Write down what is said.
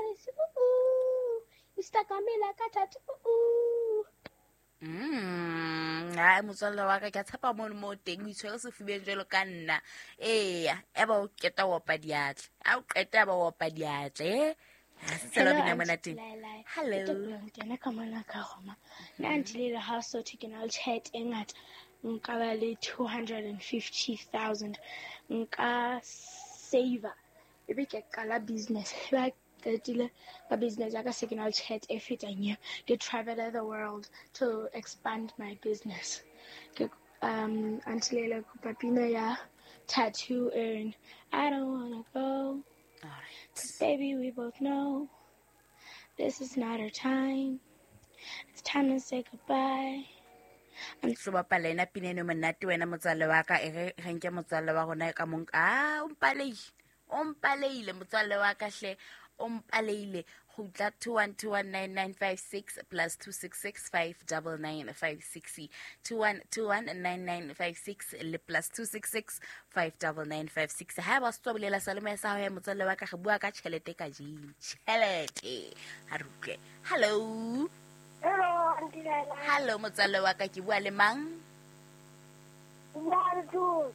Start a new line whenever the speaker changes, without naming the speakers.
Paris. Ooh, you stuck on me like a tattoo.
Hai motswalle wa ka, ke a tshepa mono mo teng o itshwere sefubeng jwalo ka nna. Eya, e ba o keta o opa diatla, a o qeta ba o opa diatla, e ha se tsela bina mona teng. Hello.
Kena ka mona ka goma. Nna Aunty Leila, ha so ke na le tjhelete e ngata, nka ba le 250,000, nka saver ebe ke qala business. Ba qetile ka business ya ka, se ke na le tjhelete e fetang eo, ke travel the world to expand my business. Ke Aunty Leila, kopa pina ya Tattoo Earn. I don't wanna go.
All right.
'Cause baby, we both know this is not our time. It's time to say goodbye.
Tlo bapala ena pina eno monate wena motswalle wa ka, e re re nke motswalle wa rona ka mong. A o mpaleile, o mpaleile motswalle wa ka hle, o mpaleile. Kgutla 21219956 plus 266 59956, 21219956 le plus 266 59956. Ha ba se tswa bolela salome sa hao ya motswalle wa ka, re bua ka tjhelete ka jeng, tjhelete ha re utlwe. Hello.
Hello, Aunty Laila.
Hello motswalle wa ka, ke bua le mang?
Bua le Thuso.